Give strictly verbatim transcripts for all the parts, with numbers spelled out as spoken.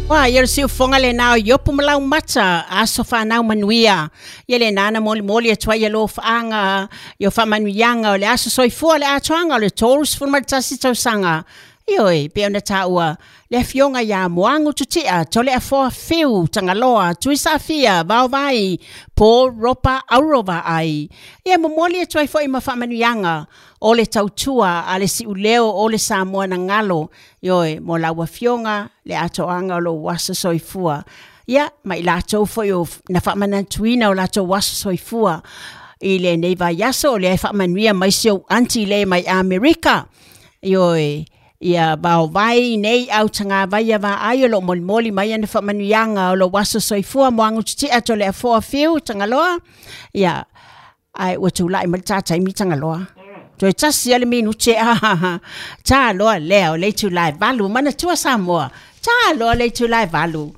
Wa ia le siufoga lenā o iopu ma laumata aso fanau manuia. Ia lenā na molimoli atu ai ia lofaaga i o faamanuiaga o le aso soifua le atoaga o le tolu sefulu ma le tasi tausaga. Ioe, pe ona taua le afioga iā Moagu Tutia Toleafoa Fiu Tagaloa Tuisaafia Vaovai Paul Ropa Aurovaai. Ia momoli atu ai foi ma faamanuiaga o le tautua a le siuleo o le Samoa na galo. Ioe, mo lau afioga le atoaga o lou aso soifua. Ia, ma i latou foi o na faamanatuina o latou aso soifua i lenei vaiaso o lea e faamanuia mai si ou aunty le mai Amerika. Ioe, ia vaovai nei au tagavai ia vaai o loo molimoli mai ana faamanuiaga o lou aso soifua Moagu Tutia Toleafoa Fiu Tagaloa. Ia, ae ua tula'i mai le tā taimi Tagaloa. Toe tasi ia le minute a tā loa lea o le itulā e valu manatua Samoa. Tā loa le itulā e valu.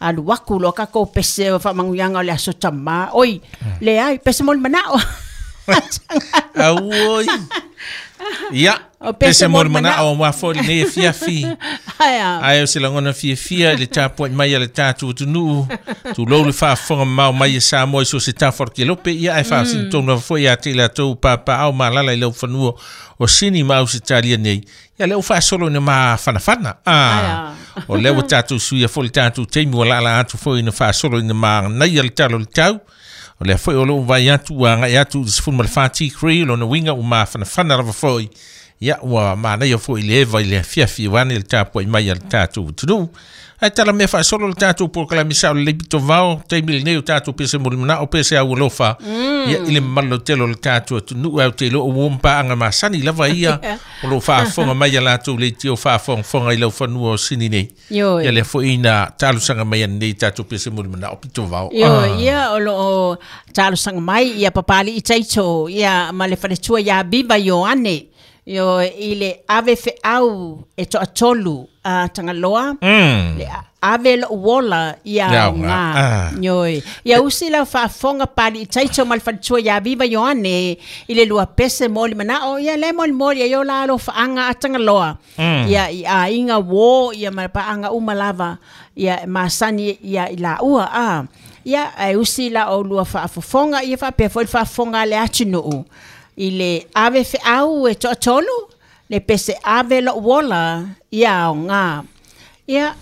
Alu aku loa tatou pese o faamanuiaga o le aso tamā. Oi, leai, pese mo le manao. Auoi. Ia, O pese pese mo mo le le manao. manao aua foi lenei afiafi. Ae a. Ae o se lagona fiafia i le tapuai mai a le tatou atunuu. Tulou le faafofoga mamao mai e Samoa i so o se tafa o le kelope. Ia ae faafesili tonu lava foi ia te i latou papaao ma alala i lau fanua o Sini ma Ausetalia nei. Ia lea ua faasolo ina mafanafana. Ae Ah, a. o lea ua tatou suia foi le tatou taimi ua laalaa atu foi ina faasolo ina manaia le tala o le tau. O lea foi o lou vaai atu ua agai atu i le sefulu ma le fa tikri, lona uiga ua mafanafana lava foi. Ia ua manaia foi le eva i le afiafi ane le tapuai mai a le tatou atunuu. Ae tala mea faasolo le tatou polokalame sao lelei pito vao, taimi lenei o tatou pese mo le manao, pese au alofa. Ia i le mamalu lautele o le tatou atunuu, ae ou te iloa ua paaga masani lava ia o loo faafofoga mai a latou leitio faafogafoga i lau fanua o Sini nei. Ioe. Ia lea foi ina talosaga mai anei tatou pese mo le manao pito vao. Ioe, ia o loo talosaga mai ia Papali'i Taito ia ma le faletua iā Viva Ioane. Ioe, i le ave feau e toatolu a Tagaloa. Mm. Le ave lou ola ia Ia aoga. Ah. Ioe. Ia usi lau faafofoga Papali'i Taito ma le faletua iā Viva Ioane i le lua pese mo le manao ia le molimoli ai o la alofaaga a Tagaloa. Ia i aiga uō ia ma paaga uma lava ia e masani ia i laua a. Ia ae usi la oulua faafofoga ia faapea foi le faafofoga a le atunuu i le ave feau e toatolu le pese ave lou ola ia aoga. Ia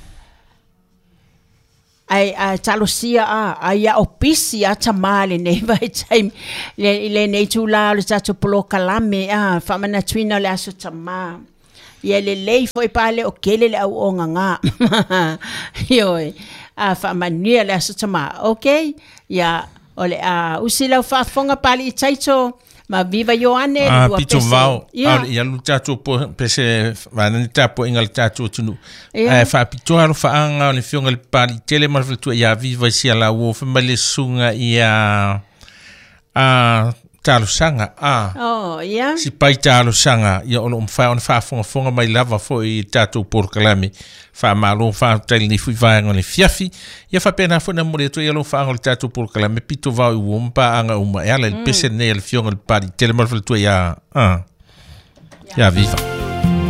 ae ae talosia a ai ia opisi a tamā lenei vaitaimi le i lenei itulā o le tatou polokalame a faamanatuina o le aso tamā. Ia lelei foi pa le o kele le auogagā. Ioe, a faamanuia le aso tamā. Okay, ia o le a usi lau faafofoga Papali'i Taito ma Viva Ioane le Ah, lua pito pese. vao. Ia. Aole ia alu tatou po pese vanani tapuaiga a le tatou atunuu. Ia. Ae faapitoa alofaaga o le afioga i le Papali'i Tele ma le faletua iā Viva i sia lauo fai mai le susuga ia a talosaga a Oh, ia. si pai talosaga ia o loo mafai ona faafogafoga mai lava foi i tatou polokalame faamalo faafetai lenei foi vaega o le fiafi ia faapena foi na momoli atu ai alofaaga o le tatou polokalame pito vao i uo ma paaga uma e ala i le pese lenei a le afioga i le Papali'i Tele ma le faletua iā a iā Viva.